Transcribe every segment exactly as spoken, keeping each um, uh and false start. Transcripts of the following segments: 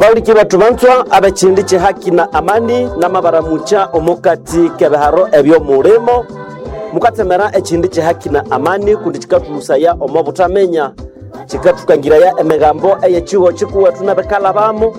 Abauliki bethu banzwa ab'ekindi ky'ehaki na amani n'amabaramucha omukati k'ebiharo eby'omulimo mukatsemera ekindi ky'ehaki na amani kundi kikathulusaya omo buthamenya, kikathukangiraya emigambo ey'ekigo kikuwethu n'ebikalhabamo.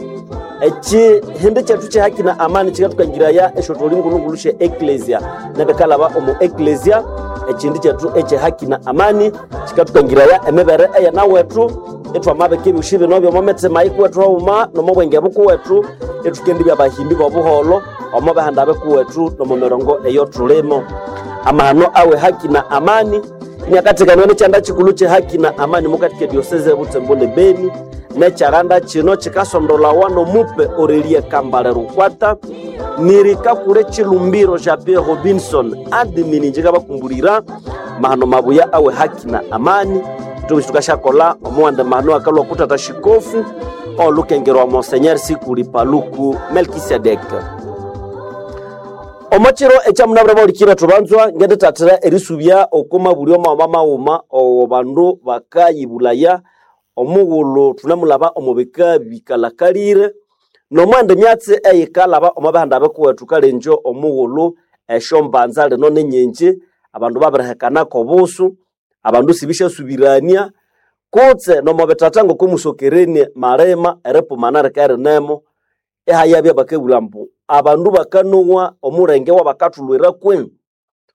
Ekihindi kyethu ky'ehaki na amani kikathukangiraya esyotholi ngulungulu sye eklesia n'ebikalhaba omu eklesia. Ekindi kyethu eky'ehaki na amani kikathukangiraya emibere eyenawethu ithwamabika ebyosi bino by'omo mithima yikuwethu haghuma n'omo bwenge bukuwethu, ithukendibya abahimbi b'obuholho omo bihanda bikuwethu n'omo mirongo eyothulimo. Amahano awe haki na amani iniakathekanwa n'ekyanda kikulhu ky'ehaki na amani mukati k'ediosese y'Ebutembo ne Beni, n'ekyalanda kino kikasondolawa n'omupe Aurelie Kambale Rukwata nirikakule Chilumbiro Jean Pierre Robinson admin. Njikabakumbulira mahano mabuya awe haki na amani ithwe tukashakola omuwanda mahano akalwa kutata shikofu olukengerwa Monseigneur Sikuli Paluku Melkisedek. Omokiro ekyamunabwire baulikire thubanzwa ngendithathira erisubya oko mabulyo maghuma maghuma owo bandu bakayibulaya omughulhu thunemulhaba omo bika bikalhakalire n'omwandi myatsi eyikalhaba omo bihanda bikuwethu kalengyo omughulhu esyombanza lino ninyingi, abandu babirihekanako obusu, abandu sibisyasubirania kutse nomo bithatha ngoko musokerenie malima eripumana rikarinemo ihayabya bakabugha ambu abandu bakanowa omulenge wabakathulhwira kwenyu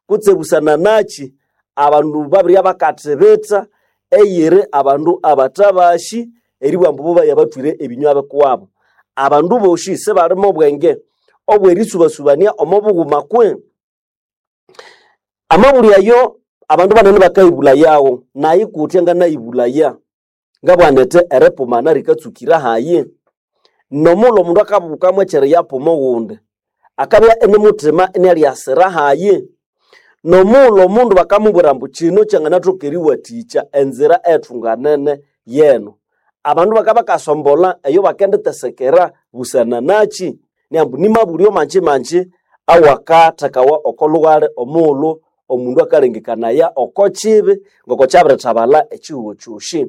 kutse busana nachi abandu babirya bakathibitha eyiri abandu abathabashi eribugha ambu bo bayabathwire ebinywa bikuwabo. Abandu boshi sibalimo obwenge obw'erisubasubania omo bughuma kwe. Amabulyo ayo abandu banene bakayibulayawo nayi kutya nganayibulaya ngabugha nithi eripumana rikatsukira hayi. N'omughulhu omundu akabukamu ekyeriyapuma oghundi akabya inimuthima inialyasira hayi. N'omughulhu omundu bakamubwira ambu kino kyanganathoka eriwathikya enzira ethunganene yeno, abandu bakabakasombolha eyo bakenditesekera busana nachi niambu nimabulyo manji manji awakathekawa oko lhughali omughulhu omundu akalengekanaya oko kibi ngoko kyabirithabalha ekihugho kyosi.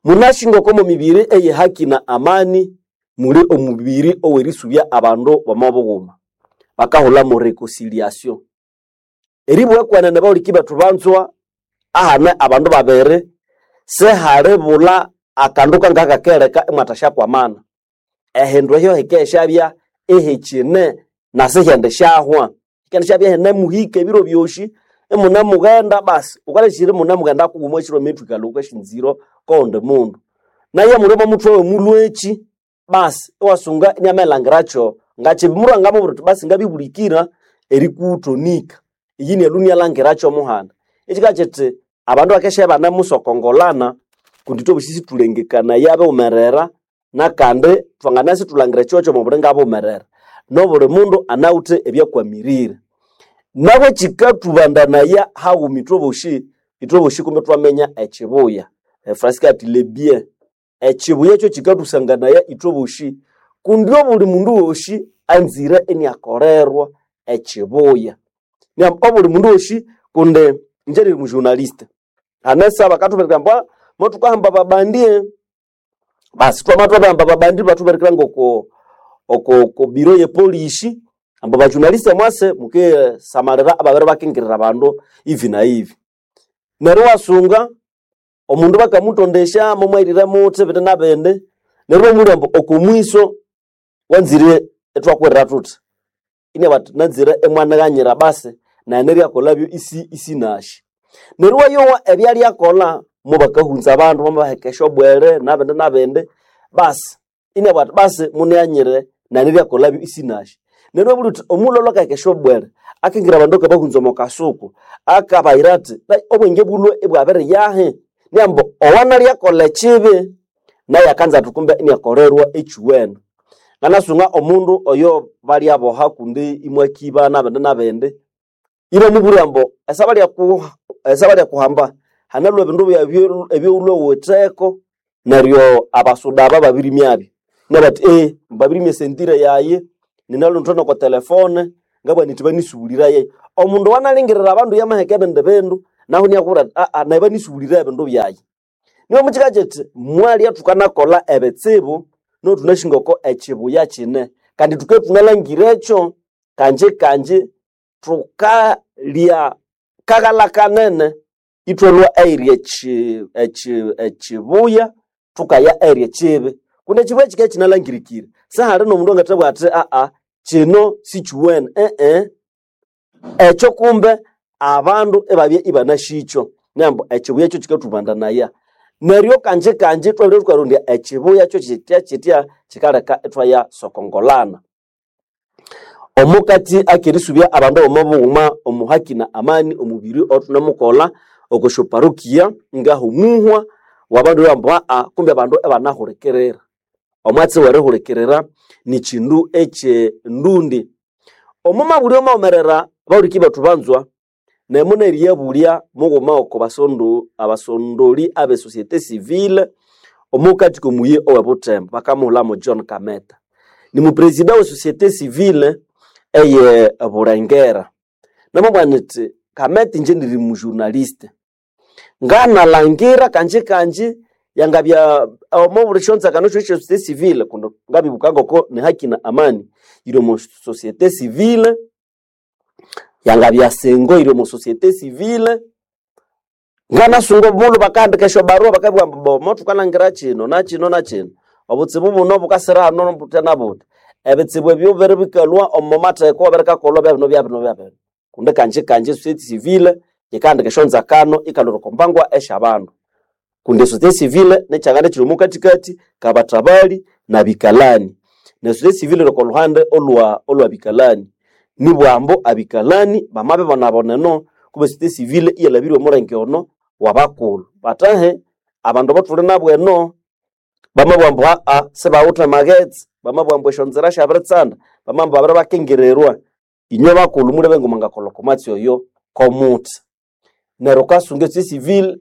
Munasi ngoko omo mibiri ey'ehaki na amani muli omubiri ow'erisubya abandu b'omo bughuma bakahulhamu reconciliation. Eribugha kwenene bawuliki bethu banzwa ahane abandu babiri sihalibulha akandu kangakakereka imwathasyakwamana. Ehindu ehyo hikesyabya ihikine na sihendisyahwa, hikendishyabya ihinemuhika ebiro byosi imunemughenda basi wukaleshire imunemughenda kughuma ekiro amethikalha wukasyanzira kowundi mundu. Naye muli omo muthwe w'omulhweki basi iwasunga iniamalhangirakyo ngakibi mulhwangamubwira uthi basi ngabibulikira erikuthonika iyi neryo inialhangirakyo omuhanda. Ekikabya kithi abandu bakesya ibanemusokongolana kundi ithwebosi sithulengekanaya bighumerera nakandi thwanganabya isithulhangira ekigo ky'omubiri ngabughumerera n'obuli mundu anawithe ebyakwamirire. Nabo kikathubandanaya haghuma ithwebosi, ithwebosi kumbe ithwaminya ekibuya. Efransi ati le bien. Ekibuya ekyo kikathusanganaya ithwebosi kundi obuli mundu wosi anzire iniakolerwa ekibuya. Neryo obuli mundu wosi kundi ingye niri mujournaliste hanesa bakathubwira ambu mothukahamba babandi basi twamabya thwabirihamba babandi ibathubirikira ngoko oko oko biro ye polisi ambu bajournaliste mwase mukisamalira ababere bakingirira abandu hivi na hivi. Neryo iwasunga omundu bakamutondesya mumwahirire muthi bindi na bindi neryo ibamubwira ambu oko mwiso wanzire ithwakuhirira thuthi inabugha athi nanzire imwanighanyira basi nayi neryakolhabyo isi isinasi. Neryo iwayowa ebyalyakolha mubakahunza abandu bamabaheka esyobwere nabindi nabindi basi inabugha athi basi munighanyire nayi neryakolhabyo isinasi. Neryo ibabugha uthi omughulhu alhwe akaheka esyobwere akingira abandu akabahunza omo kasuku akabayira athi obwenge bulhwe ibwabiriyahi niambu owanalyakolha ekibi naye akanza athi kumbe iniakolerwa ekyuwene. Nganasunga omundu oyo balyaboha kundi imwakiba nabindi nabindi ibamubwira ambu esabalyakuhamba hanalhwe ebindu byawu ebyawulhwe wuwitheko neryo abasuda aba babirimyabyo. Inabugha athi eghe babirimya esentire yayi ninalhuthwe noko telefone ngabugha nithi banisubuliraye. Omundu owanalingirira abandu yamaheka ebindi bindu nahu iniakubwira athi aa nayi banisubuliraye ebindu byayi. Nibo mukika kiti mwalya thukanakolha ebitsibu. No tunashingoko echibuya chine kandi tuke tunalangira ekyo kanje kanje tukalya kaghala kanene ithwalwa eirya echi echi echibuya thukaya eirya echibi kundi echibuya kikabya kinalangirikire sihali n'omundu angathabugha athi aa kino sikiwene ee ekyo kumbe abandu ibabya ibanashikyo nembu echibuya ekyo kikathubandanaya neryo kanje kanje thwabere thukarondya echibuya kyo kitya kitya kikaleka ithwaya sokongolana omukati akerisubya abandu omo bughuma omu haki na amani omubiri othunemukolha oko syoparokia ngahomuhwa wabandu bambu aa kumbe abandu ibanahulikirira omwatsi werihulikirira nikindu ekyendundi omo mabulyo mawumerera bahuliki bethu banzwa nemu neriyabulya mughuma oko basondu abasondoli abe societe civile omukati komuyi owe Butembo bakamuhulamo John Kameta ni mupresida we societe civile eye Bulengera namubwira niti Kameta inje ndiri mujournaliste nganalangira kanje kanje yangabya omo buli syonzakano syosi sya societe civile kundi ngabibuka ngoko ni haki na amani yiri omu societe civile yangabya sengo iri omu societe civile nganasunga obulhu bakahandika esyobarua bakabugha ambu bomo thukalangira kino na kino na kino obutsibu buno bukasira hano buthya na buthya ebitsibu ebyo biri bikalhwa omo matheko ebirikakolhwa byabino byabino byabino kundi kanje kanje societe civile yikahandika esyonzakano ikalhwira oko mbangwa esyabandu kundi societe civile nikyangana ekiri omo kathikathi kabathabali na bikalani ne societe civile iri oko lhuhande olwa olwa bikalani nibwambu abikalani bamabibonabona eno kumbe societe civile iyalhabirye omulenge ono wabakulhu batahe abandu abathuli nabo eno bamabugha ambu aa sibawithe maghetse bamabugha ambu esyonzira syabiritsanda bamabugha babiribakengererwa inywe bakulhu mulebe ngomwangakolha oko mwatsi oyo komuthi neryo wukasunga societe civile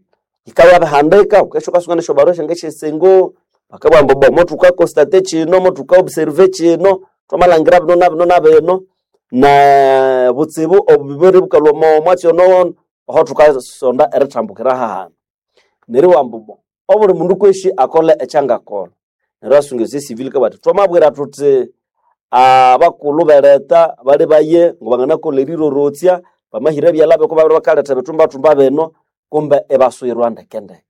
yikayabihandika wukesha wukasunga nesyobarua syange syesengo bakabugha ambu bo mothukakonstate kino mothuka observe kino thwamalhangira bino na bino na bino na butsibu obubiri bukalhwa omo mwatsi ono oho thukasonda erithambukira hahanu neryo iwamba bo obuli mundu kwesi akole ekyangakolha neryo asunga societe civile ikabugha athi thwamabwira thuthi abakulhu bereta bali baye ngobanganakolha erirorotsya bamahira ebyalha biko babiri bakaletha ebithumbathumba bino kumbe ibaswirwa ndekendeke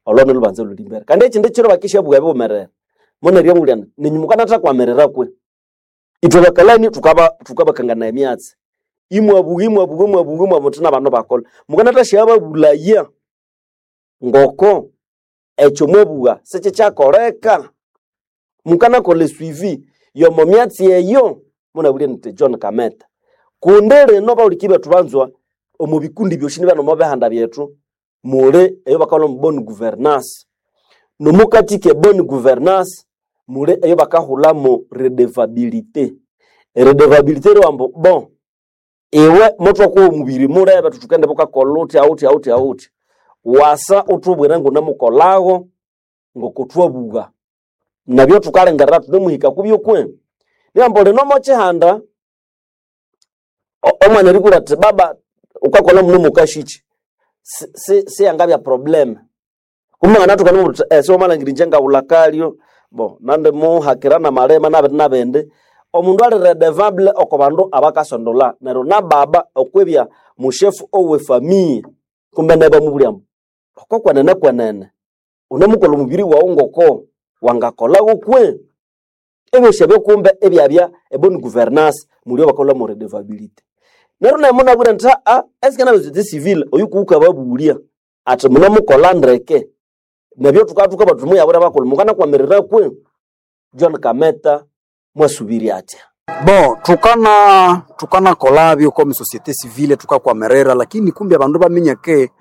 olwo nilhubanza olhuli mbere kandi ekindi kiro bakishabugha ebiwumerere muneryo amubulya ninyu mukanathakwamiririra kwe ithwe bakalani thukaba thukabakanganaya emyatsi imwabugha imwabugha imwabugha imwabuthi nabandu bakolha mukanathashyababulaya ngoko ekyo mwabugha sikyikyakoleka mukanakolha esuivi yomo myatsi eyo munabwire nithi John Kameta kundi lino bahuliki bethu banzwa omu bikundi byosi nibya nomo bihanda byethu muli eyo bakakolha omu bonne gouvernance nomukati ke bonne gouvernance muli eyo bakahulhamu redevabilité eredevabilité eriwambu bon iwe mothwakuha omubiri mulebe thuthukende bukakolha uthya uthya uthya uthya wasa uthubwire ngunemukolhago ngokuthwabugha nabyo thukalengerera thunemuhika kubyo kwe niwamba lino mokyihanda o- omwana eribulha athi baba wukakolha muno mukashiki si- si- siyangabya problem kumbe nganathuka nimubuthi eh, siwamalhangira inje ngawulha kalyo bo nandimuhakira namalima nabindi nabindi omundu ali redevable oko bandu abakasondolha neryo nababa okwibya mushefu owe famille kumbe naye ibamubulya ambu oko kwenene kwenene unemukolha omubiri wawu ngoko wangakolhagho kwe ebyosi ebyo kumbe ebyabya ebonne gouvernance muli bakolha mu redevability neryo naye munabwire nthi aa esike nabe societe civile oyu kuwukababulya athi munemukolha ndeke nabyo thukathuka bathu muyabwira bakulhu mukanakwamirira kwe John Kameta mwasubirya atya Bon, tukana tukanakolabyo comme société civile tukakwamerera lakini kumbe abandu baminya ke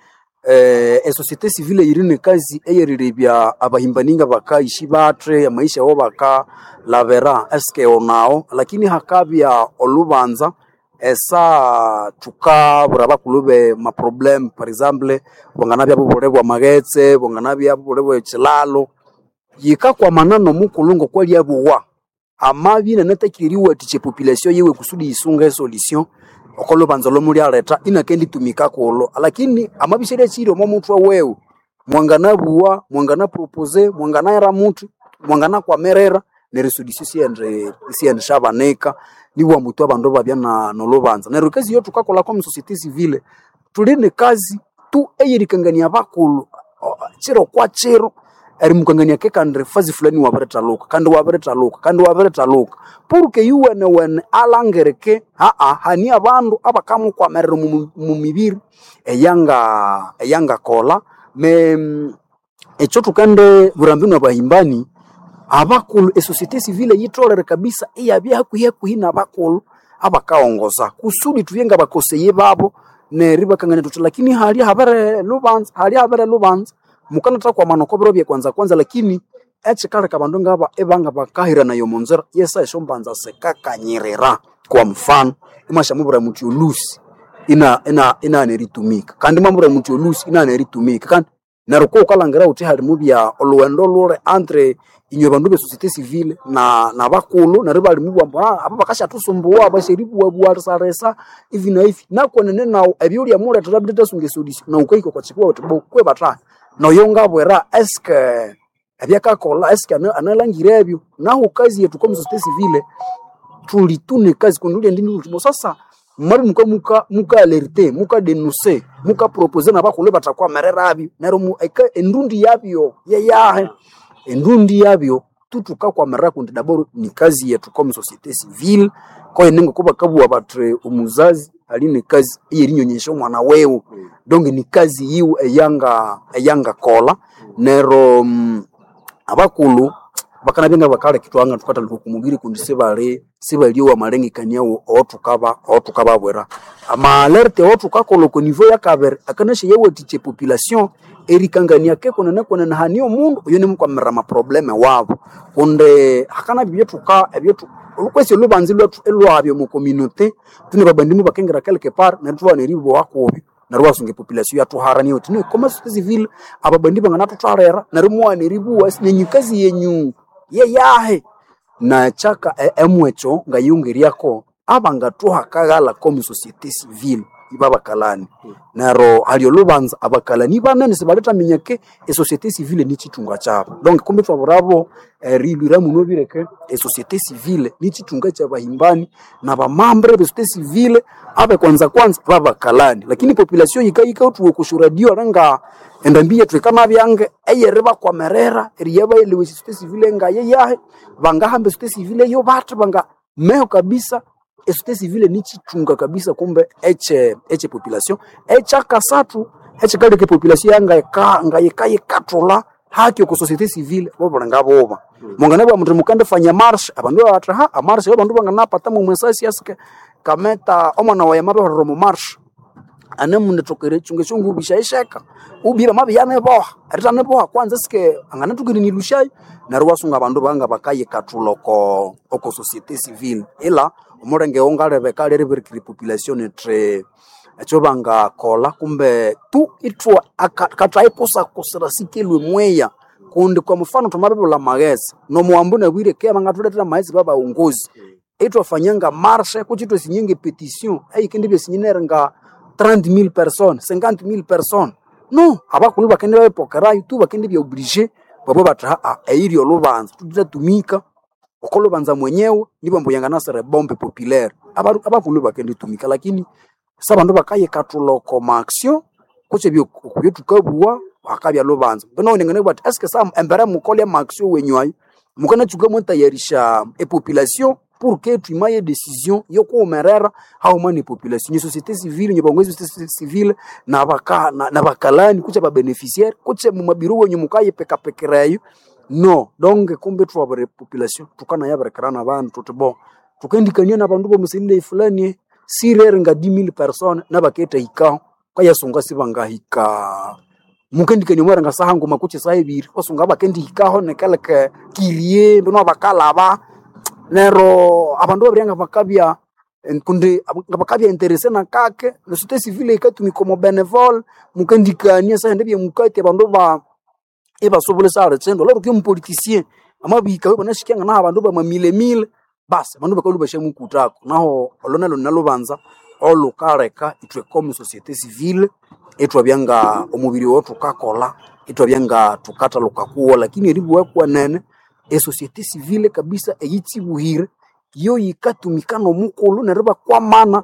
eh, e société civile yiri nekazi eyerirebya abahimbaninga bakaishi bathe amaisha abo bakalabera eske onao lakini hakabya olubanza esa tukabura bakulhu be maproblème par exemple bwanganabya bubule bwa maghetse bwanganabya bubule bwe kilalo yikakwamana nomukulhu ngokwalyabuwa amabya inanatakire eriwathikya epopulation yiwe kusudi yisunga esolution oko lubanza lomulyaletha inakenditumika kulho lakini amabya isyalyakyiri omo muthwe wewe mwanganabuwa mwanganapropose mwanganahera muthi mwangana kwamerera neryo solution siyende siyende shabanika nibwa mutu abandu babya na nolubanza neryo kazi yo tukakola kwa société civile tuli ne kazi tu eyerikangania bakulu o- chiro kwa chiro erimukangania ke kandi fazi fulani wabirithaluka kandi wabirithaluka kandi wabirithaluka purke yuwene wene alangirike aa hani abandu abakamukwamerera mu mu mibiri eyanga eyangakola me ekyo tukende burambi n'abahimbani abakulu esociété civile yitolere kabisa iyabya hakuhi hakuhi n'abakulu abakaongoza kusudi tubye ngabakoseye babo neryo ibakangania tuthi lakini hali habere lubanza hali habere lubanza mukanathakwamana oko biro byekwanza kwanza lakini ekikaleka abandu ngaba ibanga bakahiranayo omunzira yesa esyombanza sikakanyirira kwa mfano imwashamubwira muthi olusi ina ina inaghana eritumika kandi mwamubwira muthi olusi inaghana eritumika kandi neryo ko wukalhangira wuthi halimubya olhughendo lule entre inywe bandu be société civile na nabakulhu neryo ibalimubugha ambu "Ah, aba bakasyathusumbuwa basyeribuwabuwalisarisa ivi na ivi nakwenene nawu ebyolya mulethera bithethasunga esolution nawu wukahika okwa kibuwa wuthi bo kwe bathahi noyo ngabwira eske ebyakakolha eske ana- analangira ebyo nahu kazi yethu comme société civile tulitune kazi kundi ulya ndini ulimo sasa mwabi muka muka muka alerte muka denoncer muka proposer nabakulhu bathakwamererabyo neryo mu- eka- endundi yabyo yeyahe endundi yabyo tutukakwamerera kundi daboro ni kazi yetu comme société civile koyi ngoko bakabugha bathi omuzazi ali ne kazi eyerinyonyesya omwana wewe donc ni kazi yiwe eyanga eyangakolha neryo mm, abakulhu bakanabya ngabakaleka ithwanga thukathalika oku mubiri kundi sibali sibaliowa amalengekania awathukaba awathukababwira amaalerte awathukakolha oko niveau yakabiri akanasya yawathikya epopulation erikangania ke kwenene kwenene hani omundu oyo nimukwamirira amaprobleme wabo kundi hakanabya ebyathuka ebyathu olukwesi olubanza ilwathu ilwabya omu community tune babandimu bakengira quelque part neryo thubana eribowa kubi neryo iwasunga epopulation yathuharania uthi no comme société civile ababandi banganathuthalira neryo muwana eribuwa nenyu kazi yenyu yeyahe na kyaka e- emwekyo ngayongeryako abangathuhakaghala comme société civile ibabakalani neryo hali olubanza abakalani banene sibalithaminya ke esociété civile nikyithunga kyabo donc kumbi thwaburabo erilwira muno bireke esociété civile nikyithunga kyabahimbani nabamambre besociété civile abekwanza kwanza babakalani lakini population yikayikathuwa okusyo radio alinga endambi yethu ikanabyange eyeribakwamerera eriyabayelewa esociété civile ngayeyahe bangahamba esociété civile yo bathi banga meho kabisa esociété civile nikyithunga kabisa kumbe eche eche population ekyakasathu ekikaleka epopulation yangayika ngayikayikathulha haki oko société civile bobulinga buba munganabugha muthi mukandifanya marche abandu babathi ha amarche abandu banganapata mwesasi asike kameta omwana wayi amabihulira omu marche anemunithokere ekyunga ekyongubisha isheka ubye bamabiyaniboha eritaniboha kwanza sike anganatokere nilushayo neryo iwasunga abandu banga bakayikathulha oko oko société civile ila omulenge wongalebeka lyeribirikira epopulation ithi ekyo bangakolha kumbe tu ithwa kathayikusakusira sikelwe mweya kundi kwa mfano thwamabibulha amaghetse nomuwambu nabwire ke bangathulethera amaghetse babaghongozi ithwafanyanga marche kutse ithwasinyanga epetition eyikendibya esinyinere nga trente mille personnes cinquante mille personnes no abakulhu bakende babipokerayo tu bakendibya obligé babwe bathi haa eyiri olubanza thuthatumika oko lubanza mwenyewe nibambu yanganasira ebombe populaire Abaru- abakulhu bakenditumika lakini sabandu bakayikathulha oko ma action kutse ebyo thukabugha hakabya lubanza mbino ningane bathi eske sa embere mukolya ma action wenyu ayo mukanatsuka mwatayarisha epopulation pour que twimaye decision yokuwumerera hauma ne population nye société civile nye bangwezi société civile na baka na, na bakalani kutse babeneficiaire kutse mumabiro wenyu mukayipekapekerayo no donc kumbe thwabere population tukanayabirikira nabandu thuthi bo tukendikania nabandu bomusilile fulani sirere nga dix mille personnes nabakethahikaho kayasunga sibangahika mukendikania mwarenga saha nguma kutse saha ebiri wasunga bakendihikaho nekeleke kirie mbino bakalaba nero abandu babirya bakabya kundi nga bakabya interese nakake ne société civile ikatumika omo benevole mukendikania sahende byemukati abandu ba ibasobole sale tsendo lero ke mupoliticien amabika banashikyanga naho abandu bamamilemile basi abandu bakalhu bashamukutako naho olwo nalo nalubanza olukaleka ithwe comme société civile ithwabya nga omubiri owo thukakolha ithwabya nga thukathaluka kuwo lakini eribugha kwenene Esociété civile kabisa eyitsibuhire yo yikatumika n'omukulhu neryo ibakwamana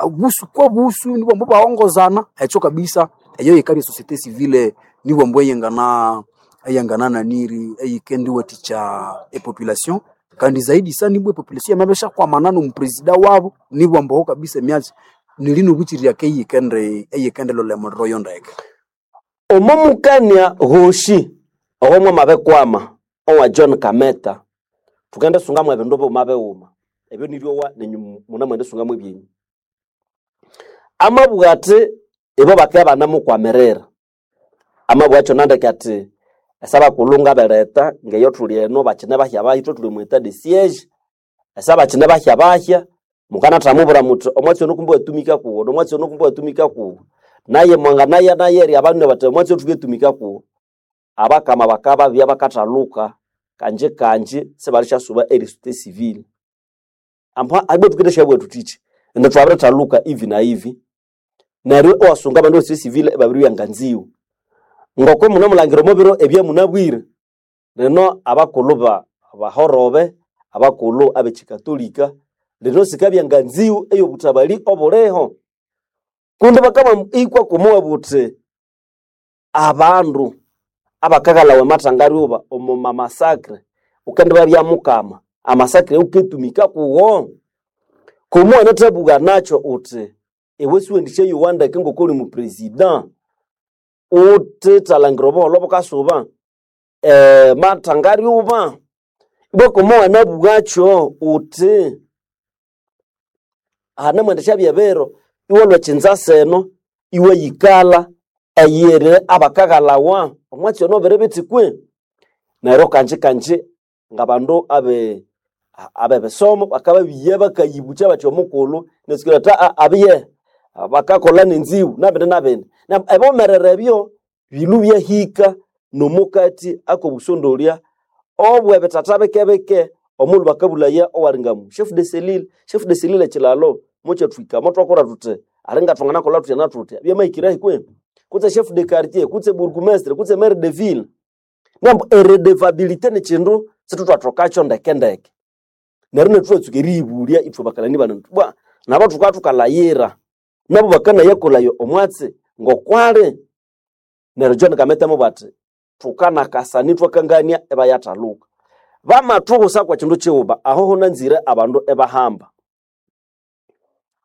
uh, busu kwa busu nibwambu baongozana ekyo kabisa eyo yikabya société civile nibwambu eyengana eyangana naniri eyikendiwathikya epopulation kandi zaidi sana ibwa epopulation yamabishakwamana n'omupresida wabo nibwambu aho kabisa emyatsi nilinobuchirirya eyikende eyikendelolha emuliro yo ndeke. Omo mukania ghoshi owo mwamabikwama owa John Kameta thukende sungamu ebindu bighuma bighuma ebyo niryowa nenyu munamwende sungamu ebyenyu. Amabugha athi ibo bakabya ibanamukwamirira amabugha akyo nandeke athi esabakulhu ngabereta ngeyo thuli eno bakine bahya bahya ithwe thuli omu etat de siege esa bakine bahya bahya mukanathamubwira muthi omwatsi ono kumbe watumika kuwo nomwatsi ono kumbe watumika kuwo naye mwanganaya naye abandu bathi omwatsi ono thuketumika kuwo abakama bakababya bakathaluka kanje kanje sibalishasuba erisute civile ampa abwe tukendeshabwa tuthichi ende thwabirithaluka ivi na ivi neryo iwasunga abandu besute civile ibabiribya nganziwu ngoko munamulangira omo biro ebyamunabwire lino abakulhu ba bahorobe abakulhu ab'ekikatolika lino sikabya nganziwu ey'obuthabali obuliho kundi bakaba ikwa kumuwa buthi abandu abakaghalawa emathangaryuba omu mamasakre ukendibabya mukama amasakre uketumika kuwo kumuwa nathabugha nakyo uthi iwe siwendisyayowa ndeke ngokoli mupresident uthithalangira obuholho bukasuba eh, mathangaryuba ibwa kumuwa nabugakyo uthi hanemwendesya byebiro iwalhwa ekyinza seno iwayikalha eyiri abakaghalawa omwatsi ono biri bithi kwe neryo kanji kanji ngabandu abe abebisomo bakababiya bakayibukya bathi omukulhu nesikira athi aa abiye bakakolha nenziwu nabindi nabindi Na- ebomerere ebyo bilu byahika nomukati akobusondolya obwebithatha bikebike omulhu bakabulaya owalingamu chef de cellule chef de cellule ekilalo mukyathwika motwakora thuthi alinga thwanganakolha thuthya na thuthya byamahikirahi kwe kutse chef de quartier kutse bourgmestre kutse maire de ville nambu eredevabilité nikindu situthwathokakyo ndekendeke neryo nethuwatsuka eriyibulya ithwe bakalani bano bwa nabo thuka thukalayira nabo bakanayakolhayo omwatsi ngokwali neryo John Kameta amabugha athi thukanakasana ithwakangania ibayathaluka bamathubusa kwa kindu kighuma aho hunanzire abandu ibahamba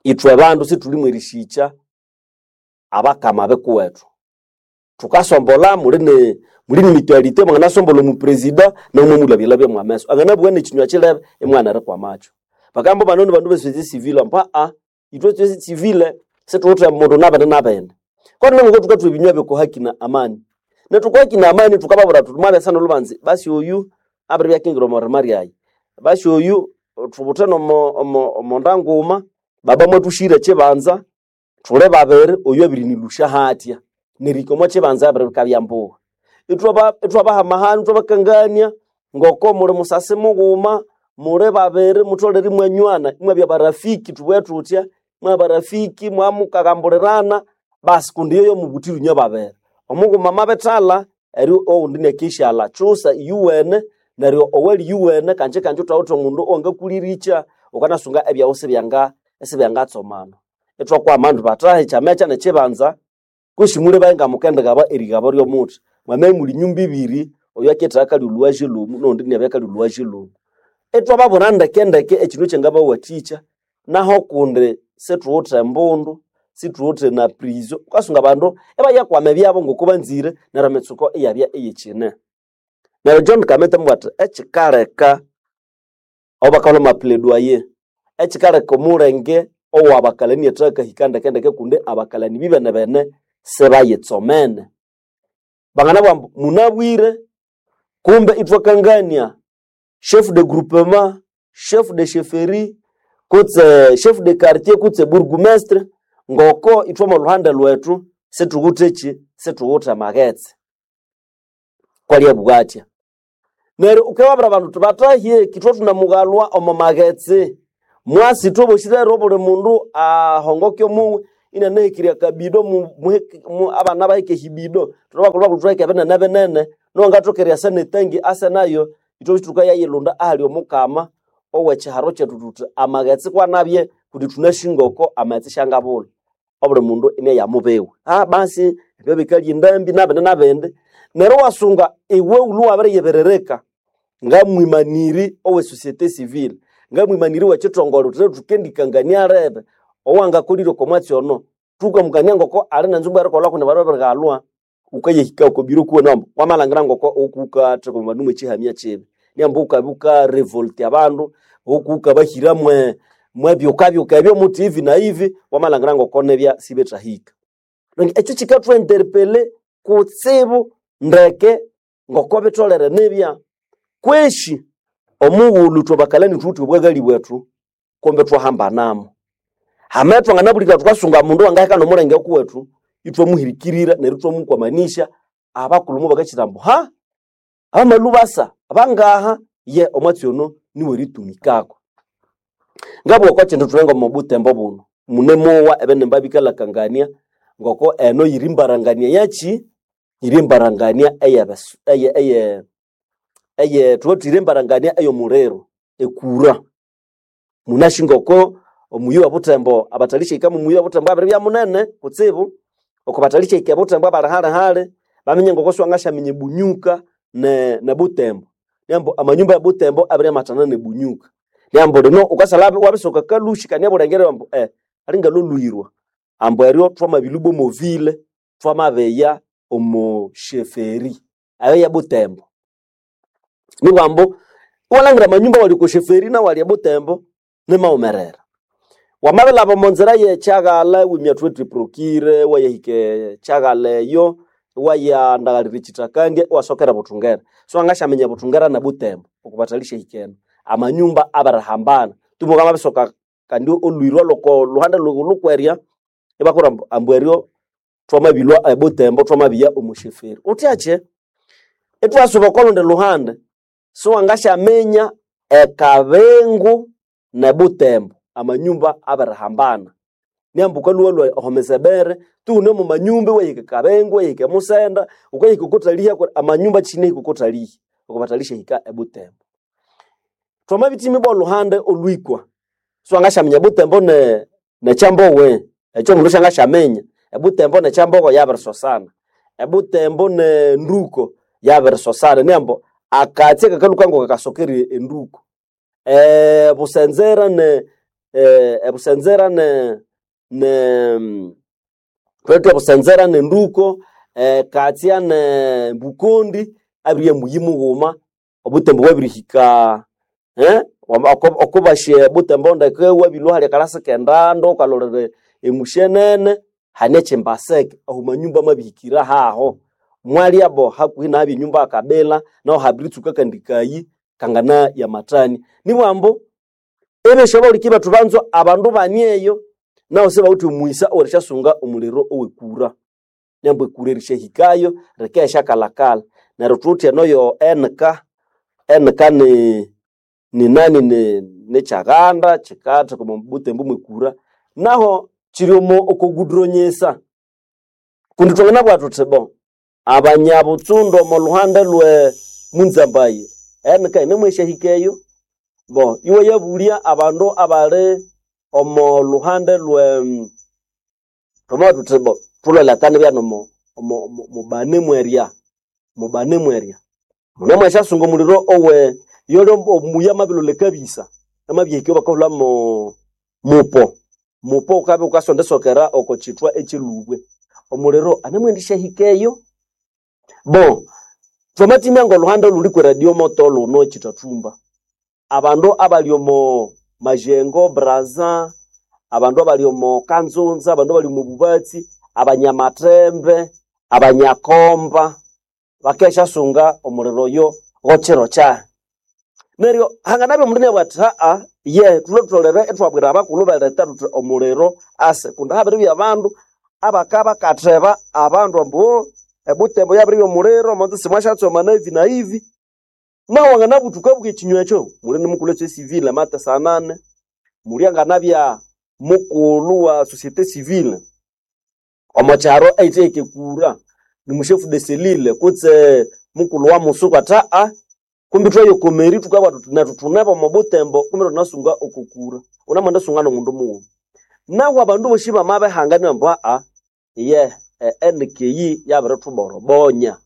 ithwe bandu sithulimu erishikya abakama bikuwethu thukasombolha muli ne muli ni mutualité mwanganasombolha omupresida namwe mulhabyalhabya mwameso anganabugha nekinywa kilebe imwana erikwamakyo bakamba bano ni bandu besociété civile mpa a ithwe société civile situwithe mundu nabene nabene koni nangoko thukathwa ebinywa byokuhaki na amani nethukuhaki na amani thukababwira thuthi mwabya nolhubanzi basi oyu abiribya akingira omorima ryayi basi oyu thubuthe nomo omo omonda nguma baba mwathushire ekibanza thuli babiri oyu abirinilusha hatya nerihika omo kibanza abiribikabya mbuga ithwaba ithwabahamahanu ithwabakangania ngoko muli musasi mughuma muli babiri mutholere imwanywana imwabya barafiki thubughe thuthya mwabya barafiki mwamukagambulirana basi kundi iyo yomubuthire inywe babiri omughuma amabithalha eryo owundi inakishalha kyusa iyuwene neryo owali yuwene kanje kanje thwawithe omundu owangakulirikya wukanasunga ebyawu sibyanga sibyangatsomana ithwakwama indi bathahi kyamekya nekyibanza kwesi mulebaye ngamukendigaba erigaba ryomuthi mwamabya imuli nyumba ibiri oyu aketha akalya olhuwaji lhumu nowundi inabya akalya olhuwaji lhumu ithwababwira ndekendeke ekindu ekyangabawathikya naho kundi sithuwithe embundu sithuwithe na prizo wukasunga abandu ibayakwama ebyabo ngoko banzire neryo emitsuko iyabya iyikyine neryo John Kameta amabugha athi ekikaleka aho bakalhwa amaplaidoyer ekikaleka omulenge owabakalani athakahika ndekendeke kundi abakalani bibenebene sibayitsomene banganabugha ambu munabwire kumbe ithwakangania chef de groupement chef de chefferie kutse chef de quartier kutse bourgmestre ngoko ithwe omo lhuhande lwethu sithuwithe kyi sithuwithe amaghetse kwali abugha athya neryo wukababwira abandu wuthi bathahye kithwe thunamughalwa omo maghetse mwasi ithwe bosi rero buli mundu ahongoke omuwe inanahekirya akabido mu- muheke- mu- abana baheke ehibido thulhabakulhu thuheke binene binene Nowangathoka eriasa netangi ase nayo ithwe thukayayilunda ahali omukama owekiharo kyethu thuthi amaghetse kwanabye kundi thunasi ngoko amaghetse syangabulha. Obuli mundu iniayamubiwe. Ah basi ebyo bikalya endambi nabindi nabindi. Neryo iwasunga iwe wulhwe wabiriyibiririka ngamwimaniri owe société civile, ngamwimaniri wekithongole thuthi thukendikangania lebe owangakolire oko mwatsi ono thukamukania ngoko ali nenzumbu erikolha kundi bandu babirighalwa wukayahika oko biro kuwene ambu wamalhangira ngoko wukuwukatheka omo bandu mwekihamya kibi. Niambu wukabya wukarevolt abandu, wukuwukabahira mwe mwebyukabyuka ebyo muthi ivi na ivi, wamalhangira ngoko nibya sibithahika. Ekyo kikathwinterpele kutsibu ndeke ngoko bitholere nibya. Kweshi omughulhu ithwe bakalani thuwithe obwaghali bwethu kumbe ithwahambanamo. Hamabya thwanganabulhikira thukasunga mundu wangaheka nomulenge kuwethu, ithwamuhirikirira neryo ithwamukwamanisya, abakulhu mubakakyira ambu ha abamalhubasa bangaha ye omwatsi ono niweritumikako. Ngabugha okwa kindu thune ngomo butembo buno, munemowa ebinimba bikalakangania ngoko eno yiri mbarangania yakyi? Yiri mbarangania eyebesu eye eye eye thuba yiri embarangania eyomuliro ekura. Munasi ngoko omuyi wa Butembo abathalishahika mumuyi wa Butembo abiribya munene kutsibu, oko bathalishahika ebutembo abali hali-hali baminya ngoko siwangasyaminya ebunyuka ne ne Butembo. Niambu amanyumba ya Butembo abiryamatana ne Bunyuka. Niambu lino wukasalha wabisoka kalushi kandi ebulengere ambu eh alingalolhuhirwa ambu eryo thwamabilhwa omo ville thwamabiya omo sheferi eyo ye Butembo. Nibugha ambu iwalhangira amanyumba awali oko sheferi nawali ebutembo nimaghumerera. Wamabilhaba omo nzira ye kyaghala iwimya thuwithe eprokire iwayahika ekyaghala eyo iwayandaghalira ekyithakandya iwasokera Buthungera. Siwangasyaminya Buthungera na Butembo okubathalishahika eno. Amanyumba abirihambana. Tumuka wamabisoka kandi olhwirwa lhoko lhuhande lhukwerya ibakubwira ambu ambu eryo thwamabilhwa ebutembo thwamabiya omo sheferi. Wuthakye ithwasuba oko lundi luhande siwangasyaminya ekabingu ne Butembo amanyumba abirihambana. Niambu wukalhwa omo misebere tughune omo manyumba iwahika ekabingu, iwahika emusenda, wukahika okwathaliha amanyumba kyinahika okwathalihi okubathalishahika ebutembo. Thwamabithimi bolhuhande olhwikwa siwangasyaminya Butembo ne nekyambowe ekyo omundu syangasyaminya. Ebutembo nekyambogo yabirisosana, Ebutembo ne nduko yabirisosana niambu akatsi akakalhuka ngoko kasokere enduko. Ebusenzera ne ebusenzera ne ne thwithe ebusenzera ne nduko, ekatsya ne mbukondi abiribya muyi mughuma, obutembo bwabirihika okubasya ebutembo ndeke iwabilhwa hali akalasi kendando wukalolera emusyenene hane ekyimbaseke ahu manyumba amabihikira haho. Mwalyabo hakuhi nahabya enyumba yakabila nahu habiritsuka akandi kayi kangana yamathania. Nibugha ambu ebyosi abahuliki bethu banzwa abandu bani eyo nahu sibawithe omughisa owerisyasunga omuliro owekura. Niambu ekura erisyahikayo rikayasyakalhakalha. Neryo thuwithe eno yo N K, N K ni ninani nikyaghanda kyikatheka omo butembo mwekura naho kyiri omo okoguduronyesa kundi thwanganabugha thuthi bo abanyabutsundu omo lhuhande lwe Munzambaye N K yinemwesyahika eyo bo iwayabulya abandu abali omo lhuhande lwe thwamabugha thuthi bo thulholekane ibya nomo omo mubane mwerya mubane mwerya munemwasyasunga omuliro owe yoli omuya amabilholha ekabisa amabyahika bakahulha mo mupo mupo wukabya wukasondesokera oko kyithwa ekyilubwe omuliro anemwendisyahika eyo bo thwamathimya ngolhuhande olhuli kwe radio moto lhuno ekyithathumba abandu abali omo Majengo Brazza abandu abali omo Kanzunza abandu abali omo Bubatsi abanyamathembe abanyakomba bakesyasunga omuliro oyo ghokyiro kyahi neryo hanganabya omundu inabugha athi haa ye thulwe ithwabwira abakulhu beletha thuthi omuliro ase kundi habiribya abandu abakabakatheba abandu ambu "Oh, ebutembo yabiribya omuliro omonzi simwasyatsomana ivi na ivi nahu wanganabutha wukabugha ekinywa ekyo muli nimukulhu e civile amate sanane muli anganabya mukulhu wa société civile omo kyaro eyitheheka ekura ni mushefu de selile kutse Mukulu wa musuku ata a kumbi twayokomeri tukabwa tuti nethu thunebo omo butembo kumbi thunasunga okukura unamwenda sunga nomundu mughuma. Nahu abandu bosi bamabihanga ambu aa iye N K yabirituborobonya,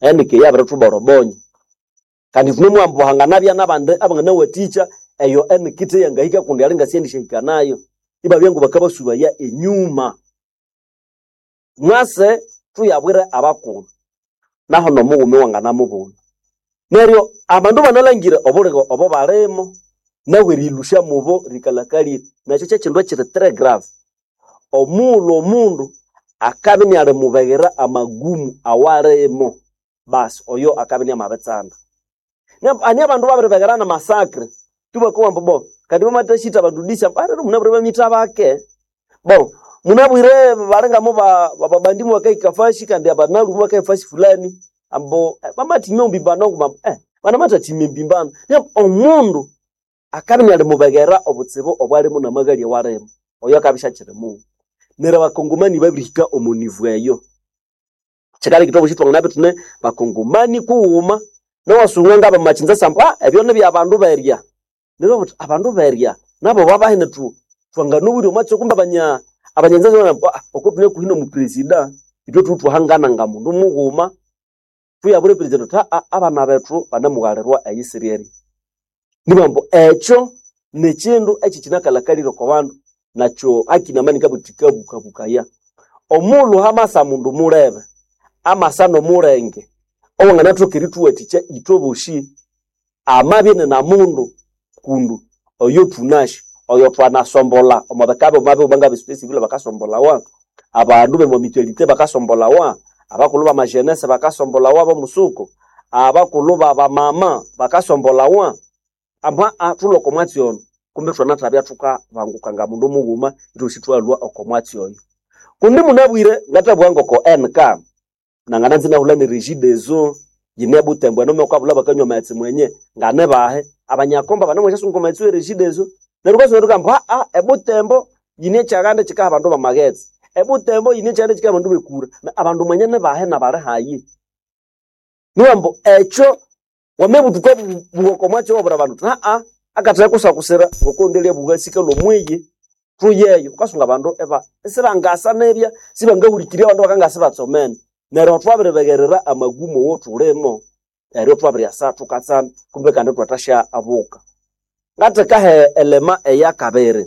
N K yabirituborobonya kandi thunemuhamba hanganabya nabandi abanganawathikya eyo N K yangahika kundi ali ngasiendishahika nayo ibabya ngu bakabasubaya enyuma. Mwase tuyabwire abakulhu naho nomughuma wanganamubuna. Neryo abandu banalhangira obuligo obo balimo nahu eriyilusya mubo rikalhakalire nekyo kyekindu ekiri très grave. Omughulhu omundu akabya inialimubeghera amagumu awalimo basi oyo akabya iniamabitsanda. Hane abandu babiribegherana namasakre itubakowa ambu bo kandi bamathasitha abandu disi ambu alero munabwire bamitha bake. Bo munabwire balingamu babandi mubakahika fasi kandi abanalhu mubakahika fasi fulani ambu bamathimya ombimbano nguma ambu eh banamathathimya embimbano. Neryo omundu akabya inialimubeghera obutsibu obwalimo namaghali awalimo oyo akabya isyakyiri mundu. Neryo abakongomani babirihika omo nivo eyo. Kyikaleka ithwe abosi thwanganabya ithune bakongomani kughuma nawasunga ngabamakyinsasa ambu ah ebyo nibyabandu berya. Neryo obuthi abandu berya nabo babahene thu thwanganobwire omwatsi kumbe abanya abanyanzanza ambu ah oko thune hakuhi nomupresida ithwe thuwe thwahangana ngamundu mughuma thuyabwira epresident thuthi aa abana bethu banemughalirwa eyisiri erya. Nibughambu ambu ekyo nikyindu ekikyinakalhakalire oko bandu nakyo hakinamani ngabuthi kikabukabukaya. Omughulhu hamasa mundu mulebe amasa nomulenge owanganathoka erithuwathikya ithwe bosi amabya inina mundu kundu oyo thunasi oyo thwanasombolha omo bika bighuma bighuma ngabe société civile bakasombolawa, abandu b'omo mutualité bakasombolawa, abakulhu b'amajenese bakasombolawa b'omusuku, abakulhu b'abamama bakasombolawa. Ambu aa thulhwe oko mwatsi ono kumbe ithwanathabya thukabanguka ngamundu mughuma ithwosi ithwalhwa oko mwatsi oyo. Kundi munabwire ngathabugha ngoko N K nangananza inahulha ne Regideso yine ebutembo eno mukabulha bakanywa amaghetse mwenye nganibahe abanyakomba banemwasyasunga amaghetse we Regideso neryo wukasunga wuthi aa ebutembo yine ekyaghanda ekikaha abandu b'amaghetse, ebutembo yine ekyanda ekikaha abandu b'ekura, abandu mwenye nibahe nabali hayi. Nibughambu ambu ekyo wamabuthuka bugha oko mwatsi owabwira abandu wuthi aa akathaye kusakusira ngokundi eryabugha sikalhwa omwiyi thuyeyo wukasunga abandu iba isibangasa nibya sibangahulikirya abandu bakangasa ibatsomene. Neryo thwabiribegherera amagumu awothulimo eryo thwabiryasa thukatsanda kumbe kandi ithwathasya abuka. Ngathekahe elema eyakabiri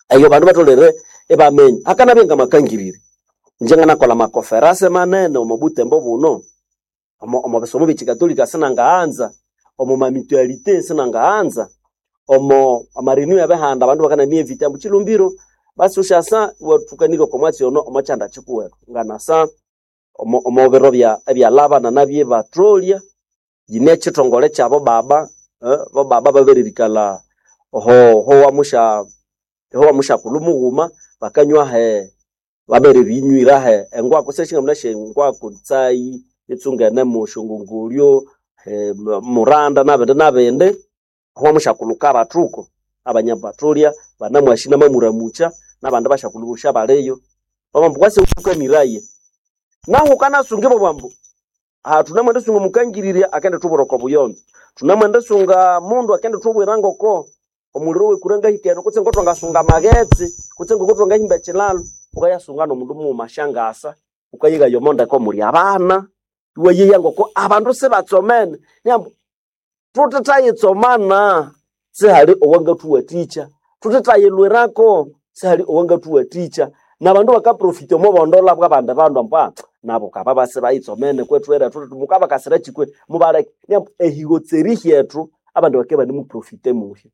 eyo bandu batholere ibaminya hakanabya ngamakangirire. Ingye nganakolha amakoferase manene omo butembo buno omo omo bisomo byekikatolika sinangaghanza, omo mamitualite sinangaghanza, omo amarenew ebihanda abandu bakananievita ambu Chilumbiro basi wusyasa iwathukanirya oko mwatsi ono omo kyanda kikuwethu. Nganasa omo omo biro bya ebyalaba nanabya ebatholya yine ekithongole kyabo baba eh, bo baba babiririkalha oho howamusya howamusyakulhu mughuma bakanywa he babiribinywira he engwako syashingamunasya engwako tsayi itsungene musyongongolyo eh, muranda nabindi nabindi howamusyakulhu kabathuko abanyabatholya banamwasi namamuramukya nabandi basyakulhu bosi abaliyo bamambu kwase wukaniraye. Nahu wukanasunga ibabugha ambu aha thunamwendisunga omukangirirya akendithubwira oko buyonzo, thunamwendisunga mundu akendithubwira ngoko omuliro wekura ngahika eno kutse ngothwangasunga amaghetse kutse ngokuthwangahimba ekyilalo wukayasunga nomundu mughuma asyangasa wukayighaya omo ndeko muli abana iwayeya ngoko abandu sibatsomene niambu thuthithayitsomana sihali owangathuwathikya, thuthithayilwirako sihali owangathuwathikya nabandu bakaprofita omo bondola bwabandi bandu ambu aa nabo kaba basibayitsomene kwethu thuthi mukabakasira kyi mubaleke. Niambu ehigotseri hyethu abandu bakabya ibanemuprofite muhyo.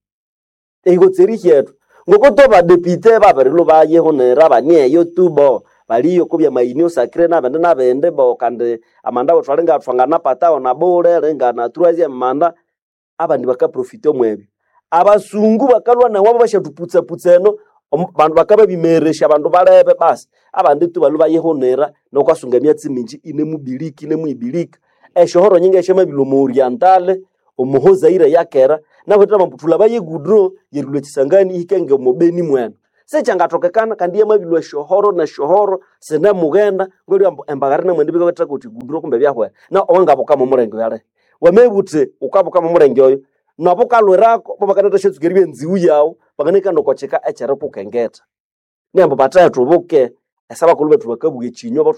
Ehigotseri hyethu ngokuto abadepite babirilhuba yihunira banieyo tu bo baliyo okubya mayinio sacre nabindi nabindi bo kandi amanda wethu alinga thwanganapatawo nabule lingana troisième manda abandi bakaprofita omwebyo. Abasungu bakalhwa nawabo basyathuputsa-putsa eno omu- bandu bakababimeresya abandu balebe basi abandi tu balhwe bayihunira nokwasunga emyatsi mingi inemubilika inemuibilika. Esyohoro nyingi esyamabilwa omo orientale omo Zaire eyakera nabo thulhabaye egudro yerilhwa ekisangani ihike ngomo Beni mwene. Sikyangatokekana kandi yamabilwa esyohoro nesyohoro sinemughenda ngolya ambu embagare namwendi bikawetha kuti guduro kumbe byahwera. Na owangabuka momulenge oyo alihi? Wamabugha wuthi wukabuka momulenge oyo nobukalwirako bobakanatha syatsuka eribya enziwu yawu banganahika okwa kyika ekyerikukengetha. Neryo ambu bathe thubuke esabakulhu bethu bakabuga ekinywa.